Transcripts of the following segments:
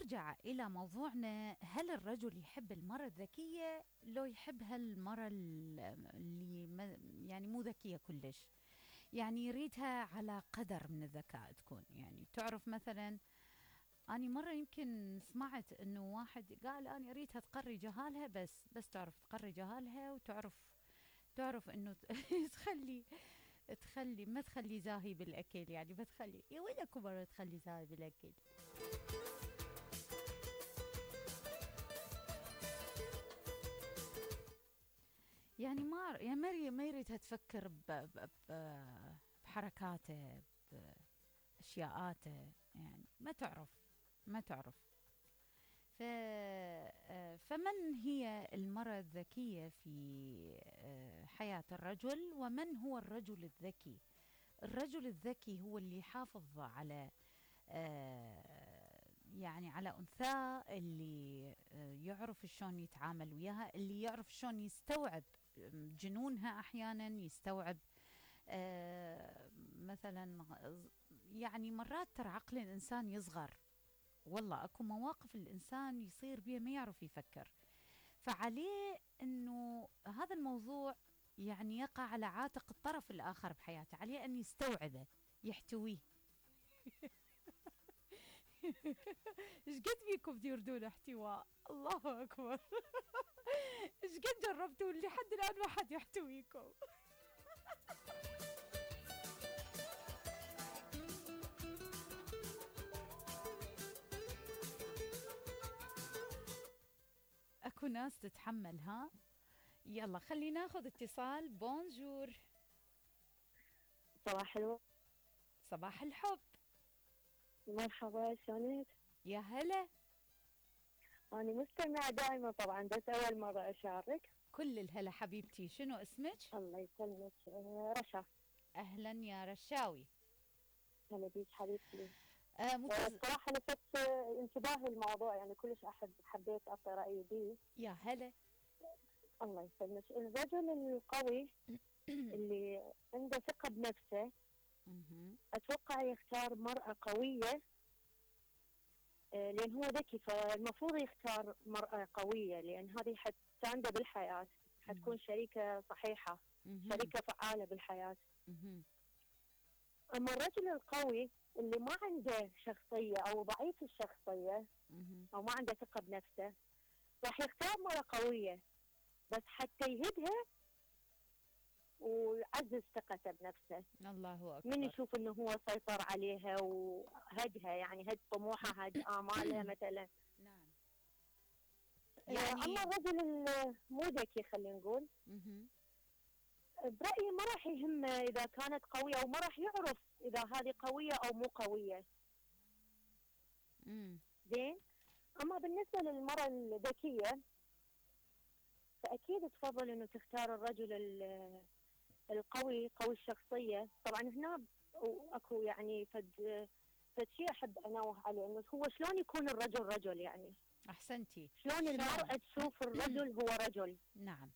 نرجع إلى موضوعنا، هل الرجل يحب المرأة الذكية لو يحب هالمرأة اللي يعني مو ذكية كلش؟ يعني يريدها على قدر من الذكاء تكون، يعني تعرف مثلا أنا مرة يمكن سمعت إنه واحد قال أنا أريدها تقري جهالها، بس تعرف تقري جهالها، تعرف إنه تخلي ما تخلي زاهي بالأكل، يعني ما تخلي يا ويلكم مرة تخلي زاهي بالأكل. يعني ما يريدها تفكر بحركاته، بأشياءاته، يعني ما تعرف. فمن هي المرأة الذكية في حياة الرجل، ومن هو الرجل الذكي؟ الرجل الذكي هو اللي يحافظ على يعني على أنثاه، اللي يعرف شلون يتعامل وياها، اللي يعرف شلون يستوعب جنونها، أحيانا يستوعب مثلا يعني مرات ترى عقل الإنسان يصغر، والله أكو مواقف الإنسان يصير بيه ما يعرف يفكر، فعليه أنه هذا الموضوع يعني يقع على عاتق الطرف الآخر بحياته، عليه أن يستوعبه يحتويه. ايش قد فيكم تردون احتواء؟ الله أكبر. ايش قد جربتوا لحد الآن ما حد يحتويكم؟ اكو ناس تتحمل، ها؟ يلا خلينا ناخذ اتصال. بونجور. صباح الورد. صباح الحب. مرحبا، شلونك؟ يا هلا. أنا مستمعة دائما طبعا، بس أول مرة أشارك. كل الهلا حبيبتي، شنو اسمك؟ الله يسلمك. رشا. أهلا يا رشاوي. هلا بيك حبيبتي. صراحة لفت انتباهي الموضوع، يعني كلش حبيت أعطي رأيي بيه. يا هلا. الله يسلمك. الرجل القوي اللي عنده ثقة بنفسه أتوقع يختار مرأة قوية، لأن هو ذكي، فالمفروض يختار مرأة قوية، لأن هذه حتسانده بالحياة، حتكون شريكة صحيحة، شريكة فعالة بالحياة. أما الرجل القوي اللي ما عنده شخصية أو ضعيف الشخصية أو ما عنده ثقة بنفسه، راح يختار مرأة قوية بس حتى يهدها ويعزز ثقته بنفسه. الله أكبر. من يشوف انه هو سيطر عليها وهدها، يعني هد طموحها، هد آمالها مثلا. نعم. يعني اما الرجل مو ذكي، خلينا نقول، برأيي ما راح يهمه اذا كانت قوية، او ما راح يعرف اذا هذه قوية او مو قوية. زين. اما بالنسبة للمرأة الذكية، فاكيد تفضل انه تختار الرجل القوي، قوي الشخصية. طبعا هنا اكو يعني فد شيء احب انوه عليه، انه هو شلون يكون الرجل رجل، يعني احسنتي، شلون المرأة تشوف الرجل هو رجل. نعم.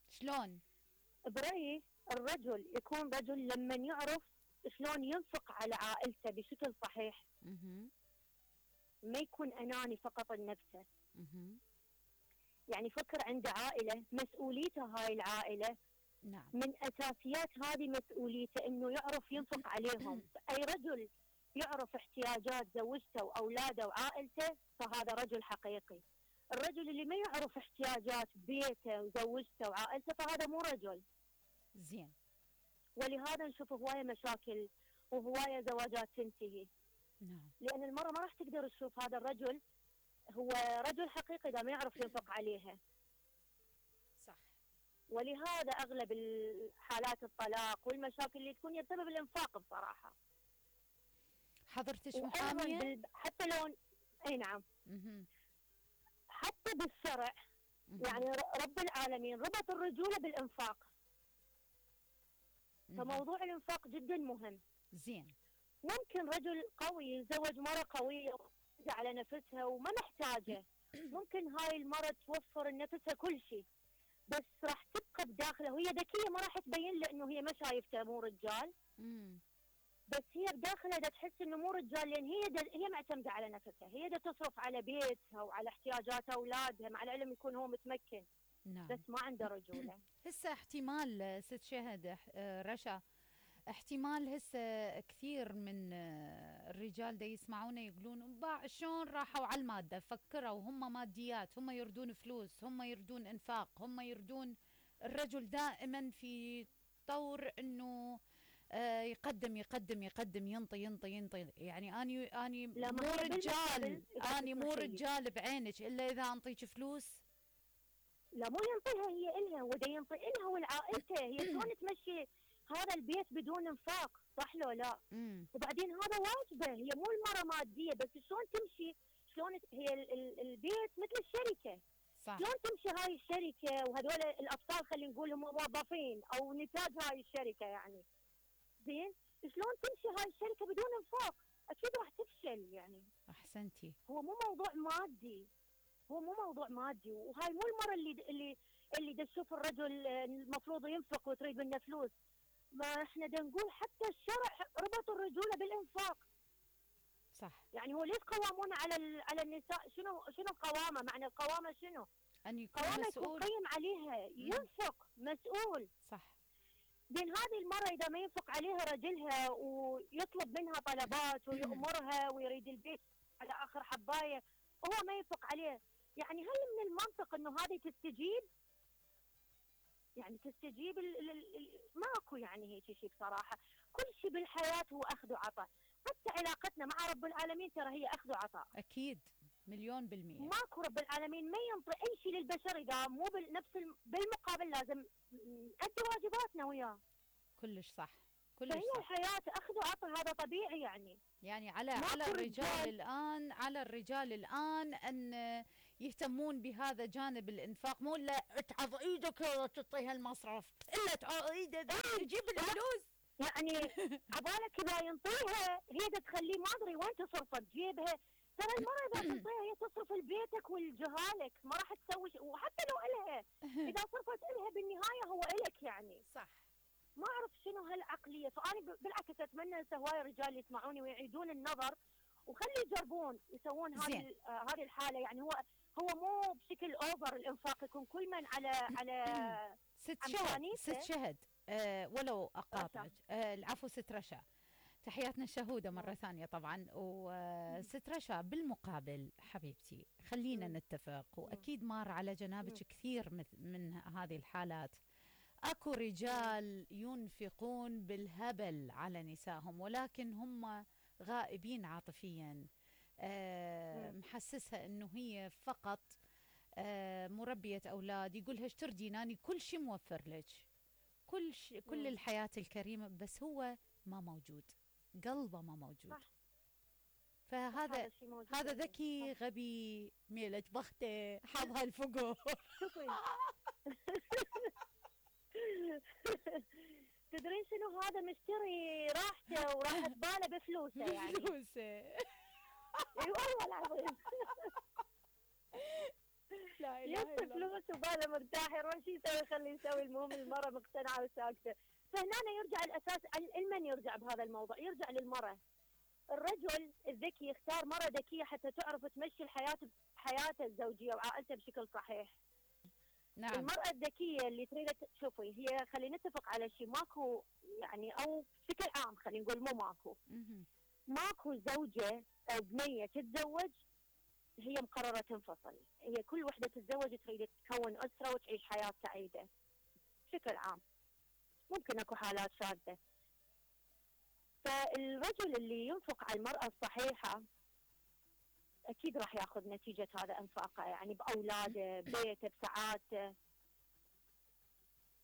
شلون؟ برأيي الرجل يكون رجل لما يعرف شلون ينفق على عائلته بشكل صحيح. ما يكون اناني فقط لنفسه. يعني فكر عنده عائلة، مسؤوليته هاي العائلة. نعم. من أساسيات هذه مسؤوليته إنه يعرف ينفق عليهم. أي رجل يعرف احتياجات زوجته وأولاده وعائلته فهذا رجل حقيقي. الرجل اللي ما يعرف احتياجات بيته وزوجته وعائلته فهذا مو رجل. زين. ولهذا نشوف هواية مشاكل وهواية زواجات تنتهي. نعم. لأن المرأة ما راح تقدر تشوف هذا الرجل هو رجل حقيقي إذا ما يعرف ينفق عليها. صح. ولهذا أغلب الحالات الطلاق والمشاكل اللي تكون بسبب الإنفاق بصراحة. حضرتش محامية؟ حتى لو أي نعم. حتى بالشرع يعني رب العالمين ربط الرجولة بالإنفاق. فموضوع الإنفاق جدا مهم. زين. ممكن رجل قوي يتزوج مرة قوية على نفسها وما محتاجة. ممكن هاي المرة توفر لنفسها كل شيء، بس راح تبقى بداخله وهي ذكية، ما راح تبين له انه هي ما شايفته مو رجال. بس هي بداخلها دا تحس انه مو رجال، لان هي معتمده على نفسها، هي دا تصرف على بيتها وعلى احتياجات اولادها، مع العلم يكون هو متمكن نعم. بس ما عنده رجوله. هسه احتمال ست شهد رشا، احتمال هسه كثير من الرجال دا يسمعونا يقولون شلون راحوا على المادة، فكروا هم ماديات، هم يردون فلوس، هم يردون انفاق، هم يردون. الرجل دائما في طور انه يقدم يقدم يقدم، ينطي ينطي ينطي. يعني اني لا، ما مو هي رجال، بالمقابل إذا اني مو تسمحي لي. رجال بعينك الا اذا انطيك فلوس. لا، مو ينطيها هي إلها، هو دا ينطي إلها ولعائلته. هي شلون تمشي هذا البيت بدون انفاق؟ صح لو لا؟ وبعدين هذا واجبه، هي مو المرة مادية بس شلون تمشي، شلون هي البيت مثل الشركة. صح. شلون تمشي هاي الشركة وهذول الأبطال، خلينا نقول هم موظفين أو نتاج هاي الشركة يعني. زين، شلون تمشي هاي الشركة بدون انفاق؟ أكيد راح تفشل يعني. احسنتي. هو مو موضوع مادي، هو مو موضوع مادي. وهاي مو المرة اللي تشوف الرجل المفروض ينفق وتريد منه فلوس. ما احنا نقول حتى الشرع ربط الرجولة بالانفاق. صح. يعني هو ليش قوامون على النساء؟ شنو القوامة؟ معنى القوامة شنو؟ ان يكون قوامة مسؤول. يكون قيم عليها، ينفق، مسؤول. صح. بين هذه المرة إذا ما ينفق عليها رجلها ويطلب منها طلبات ويأمرها ويريد البيت على آخر حباية وهو ما ينفق عليه، يعني هل من المنطق إنه هذه تستجيب؟ يعني تستجيب ماكو يعني هيك شيء بصراحة. كل شيء بالحياة هو أخذ وعطاء، حتى علاقتنا مع رب العالمين ترى هي أخذ وعطاء. أكيد، 1,000,000%. ماكو رب العالمين ما ينطي أي شيء للبشر إذا مو بالمقابل لازم نأدي واجباتنا وياه. كلش صح، كلش فهي صح. الحياة أخذ وعطاء، هذا طبيعي يعني. يعني على الرجال الآن أن يهتمون بهذا جانب الإنفاق، مو لا تعض إيدك وتعطيها المصرف، إلا تعض إيدك تجيب الفلوس. يعني عبالك إذا ينطيها هي تخليه ما أدري وين تصرفت جيبها. ترى المرة إذا تنطيها هي تصرف لبيتك ولجهالك، ما راح تسوي وحتى لو إلها إذا صرفت إلها بالنهاية هو إلك يعني. صح. ما أعرف شنو هالعقلية. فأنا بالعكس أتمنى هسه هواي رجال يسمعوني ويعيدون النظر وخلي يجربون يسوون هذه الحالة. يعني هو مو بشكل أوفر الإنفاق، يكون كل من على ست شهد ولو أقاطعك. العفو ست رشا، تحياتنا الشهودة مرة ثانية طبعا. وست رشا بالمقابل حبيبتي خلينا نتفق، وأكيد مار على جنابك كثير من هذه الحالات. اكو رجال ينفقون بالهبل على نسائهم ولكن هم غائبين عاطفيا، محسسها انه هي فقط مربية اولاد، يقولها ايش تردين، اني كل شيء موفر لك، كل الحياة الكريمة، بس هو ما موجود، قلبه ما موجود. صح. هذا ذكي غبي ميلك بخته حظها الفقور. تدرين شنو هذا؟ مشتري راحته وراحت باله بفلوسه يعني. بفلوسه. اي والله العظيم. لا اله الا الله. فلوس وباله مرتاح، يروح شو يسوي؟ خليه يسوي. المهم المرأة مقتنعة وساكتة. فهنا يرجع الأساس لمن يرجع بهذا الموضوع؟ يرجع للمرأة. الرجل الذكي يختار مرأة ذكية حتى تعرف تمشي حياته الزوجية وعائلته بشكل صحيح. نعم. المرأة الذكية اللي تريد شوفي، هي خلينا نتفق على شيء، ماكو يعني او بشكل عام خلينا نقول مو ماكو زوجة او بنية تتزوج هي مقررة تنفصل. هي كل وحدة تتزوج تريد تكون أسرة وتعيش حياة سعيدة بشكل عام. ممكن اكو حالات شاذة. فالرجل اللي ينفق على المرأة الصحيحة أكيد راح ياخذ نتيجة هذا إنفاقه، يعني بأولاده، ببيته، بسعادته.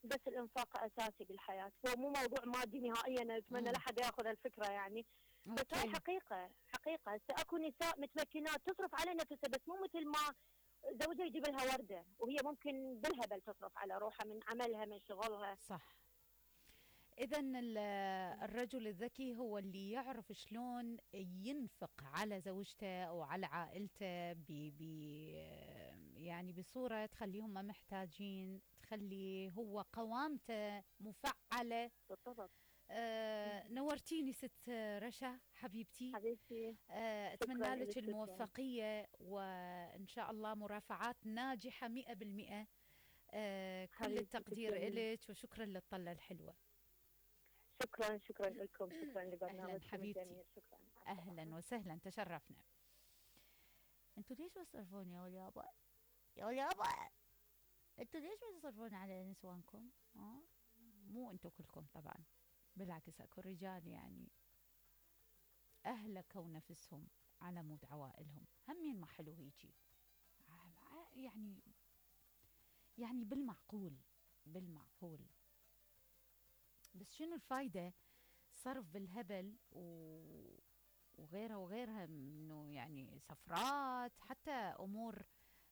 بس الإنفاق أساسي بالحياة، هو مو موضوع مادي نهائيا. أتمنى لا حدا ياخذ الفكرة يعني. بس هاي حقيقة. أكو نساء متمكنات تصرف على نفسها، بس مو مثل ما زوجها يجيب لها وردة، وهي ممكن بالهبل تصرف على روحها من عملها من شغلها. صح. إذا الرجل الذكي هو اللي يعرف شلون ينفق على زوجته أو على عائلته يعني بصورة تخليهم محتاجين، تخلي هو قوامته مفعلة. بالضبط. نورتيني ست رشا حبيبتي. حبيبتي أتمنى شكراً لك لك، شكراً. الموفقية وإن شاء الله مرافعات ناجحة 100%. كل حبيبتي التقدير تسلمي. إلك وشكرا للطلة الحلوة. شكرا، شكرا لكم، شكرا أهلا لبرنامجكم حبيبتي. الجميل، شكرا، مع السلامة. أهلا وسهلا، تشرفنا. انتوا ليش بتصرفون يا وليابا؟ يا وليابا انتوا ليش بتصرفون على نسوانكم؟ مو انتوا كلكم طبعا، بالعكس اكو رجال يعني اهلكوا نفسهم على مود عوائلهم، همين ما حلو هيجي. يعني بالمعقول، بالمعقول. بس شنو الفايدة صرف بالهبل وغيرها وغيرها، انه يعني سفرات، حتى امور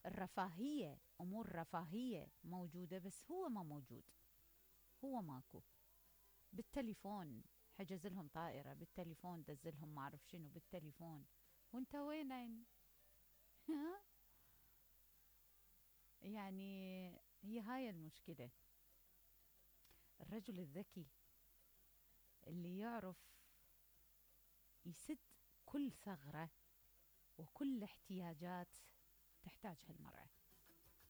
الرفاهية، امور رفاهية موجودة بس هو ما موجود، هو ماكو. بالتليفون حجز لهم طائرة، بالتليفون دز لهم ما اعرف شنو بالتليفون، وانت وين؟ ها؟ يعني هي هاي المشكلة. الرجل الذكي اللي يعرف يسد كل ثغرة وكل احتياجات تحتاجها المرأة.